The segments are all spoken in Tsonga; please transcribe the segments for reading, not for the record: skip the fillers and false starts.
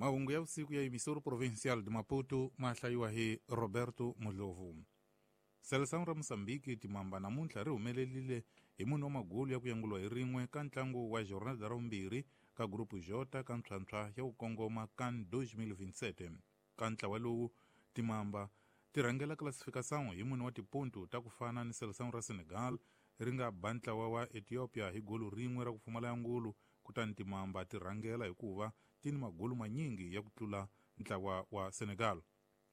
Mahungu ya vusiku ya Emissora Provincial de Maputo ma hlayiwa hi Roberto Mudlovu. Seleção ra Mozambique timamba namuntlha ri humelerile hi mune wa magulu ya ku yanguliwa hi rin'we ka ntlangu wa jornada ra vumbirhi ka Grupo J ka ntlhwantlhwa ya ku kongoma CAN 2027. Ka ntlawa lowu, timamba ti rhangela classificação hi mune wa tipontu ta ku fana ni Seleção ra Senegal ri nga ba ntlawa wa Ethiopia hi golu rin'we ra ku pfumala yangulu, kutani timamba ti rhangela hikuva ti ni magulu manyingi ya ku tlula ntlawa wa Senegal.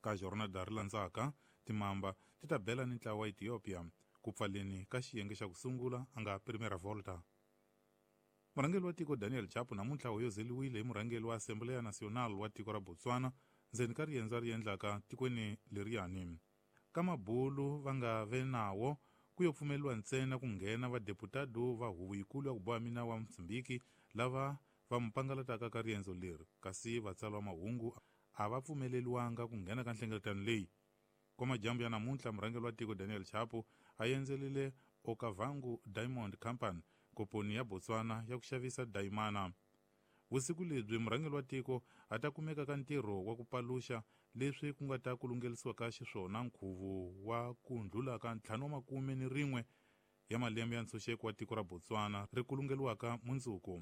Ka jornada ri landzaka, timamba ti ta bela ni ntlawa wa Ethiopia ku pfaleni ka xiyenge xa ku sungula a nga Primeira Volta. Murhangeri wa tiko Daniel Chapo namuntlha hoyozeliwile hi murhangeri wa Assembleia Nacional wa tiko ra Botswana ndzeni ka riendzo a ri endlaka tikweni leriyani. Ka mabulu va nga ve nawo ku yo pfumeleriwa ntsena ku nghena vadeputado va huvo yikulu ya ku boha minawu wa Mozambique lava va mu pangalataka ka riendzo leri, kasi vatsari va mahungu a va pfumeleriwanga ku nghena ka nhlengeletano leyi. Kwa majambu ya namuntlha, murhangeri wa tiko Daniel Chapo a endzerile Okavango Diamond Company, komponi ya Botswana ya ku xavisa dayimana. Vusiku lebyi murhangeri wa tiko a ta kumeka ka ntirho wa ku paluxa leswi ku nga ta kulungelisiwa ka xiswona nkhuvo wa ku ndlula ka 51 ya malembe ya ntshunxeko wa tiko ra Botswana ri kulungeliwaka mundzuku.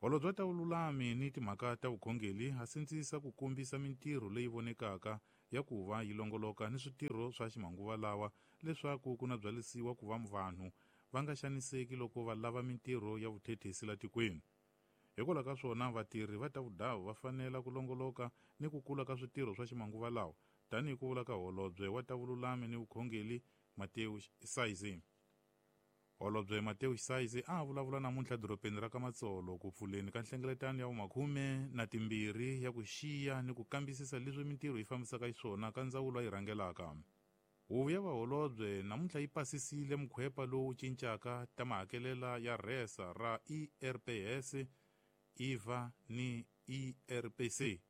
Holobye wa ta vululami ni timhaka ta vukhongeli a sindzisa ku kombisa mintirho leyi vonekaka ya ku va yi longoloka ni switirho swa ximanguva lawa leswaku ku na byalisiwa ku va vanhu va nga xaniseki loko va lava mintirho ya vuthethisi la tikweni. Hikwalaho ka swona, vatirhi va ta vudavu va fanela ku longoloka ni ku kula ka switirho swa ximanguva lawa, tanihi ku vula ka holobye wa ta vululami ni vukhongeli Mateus Saizi. Holobye Mateus Saizi a vulavula namuntlha dorobeni ra ka Matsolo ku pfuleni ka nhlengeletano ya vumakhume na timbirhi ya ku xiya ni ku kambisisa leswi mintirho yi fambisaka xiswona ka ndzawulo a yi rhangelaka. Huvo ya vaholobye namuntlha yi pasisile mukhwepa lowu cincaka ta mahakelela ya rhesa ra IRPS, IVA ni IRPC.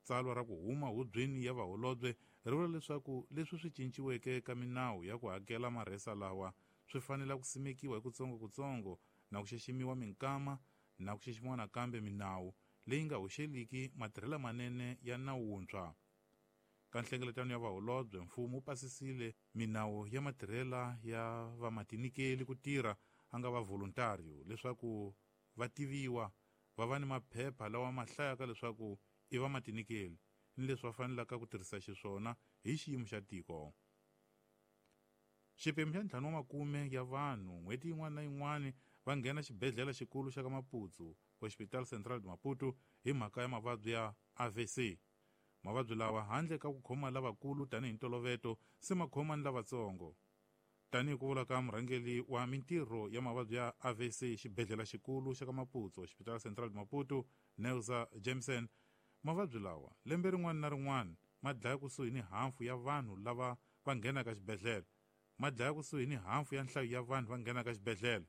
Tsalwa ra ku huma hubyeni ya vaholobye ri vula leswaku leswi swi cinciweke ka minawu ya ku hakela marhesa lawa swi fanele ku simekiwa hi kutsongo-kutsongo na ku xiximiwa minkama na ku xiximiwa nakambe minawu leyi nga hoxeliki matirhelo manene ya nawu wuntshwa. Ka nhlengeletano ya vaholobye, mfumo wu pasisile minawu ya matirhela ya vamatinikeli ku tirha a nga va voluntario leswaku va tiviwa, va va ni maphepha lawa ma hlayaka leswaku i vamatinikeli ni leswi va fanelaka ku tirhisa xiswona hi xiyimo xa tiko. Xiphemu xa 50 ya vanhu n'hweti yin'wana na yin'wana va nghena xibedhlele xikulu xa ka Maputo, Hospital Central de Maputo, hi mhaka ya mavabyi ya AVC. Mavabyi lawa handle ka ku khoma lavakulu tanihi ntoloveto se ma khoma ni lavatsongo. Tanihi ku vula ka murhangeri wa mintirho ya mavabyi ya AVC xibedhlele xikulu xa ka Maputo, Hospital Central de Maputo, Neusa Jameson, mavabyi lawa lembe rin'wana na rin'wana ma dlaya kusuhi ni hafu ya vanhu lava va nghenaka xibedhlele. Ma dlaya kusuhi ni hafu ya nhlayo ya vanhu va nghenaka xibedhlele.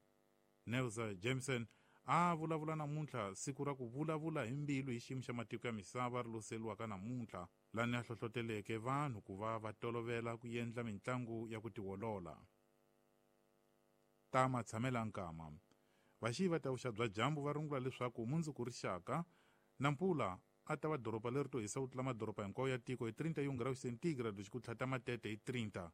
Neusa Jameson a vulavula namuntlha siku ra ku vulavula hi mbilu hi xiyimo xa matiko ya misava ri loseliwaka namuntlha, lani a hlohloteleke vanhu ku va va tolovela ku endla mitlangu ya ku tiolola. Ta matshamela nkama. Vaxiyi va ta vuxa bya dyambu va rungula leswaku mundzuku rixaka Nampula a ta va doroba leri to hisa ku tlula madoroba hinkwawo ya tiko hi 31 graus centígrados ku tlhata Matete hi 30,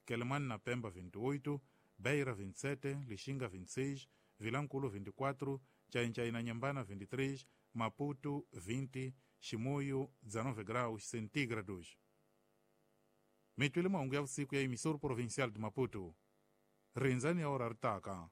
Quelimane na Pemba 28, Beira 27, Lixinga 26, Vilankulu 24, Ncayincai na Nyembana 23, Maputo 20, Chimoio 19 graus centígrados. Mi twile mahungu ya vusiku ya Emissora Provincial de Maputo. Rindzani ya ora ri taka.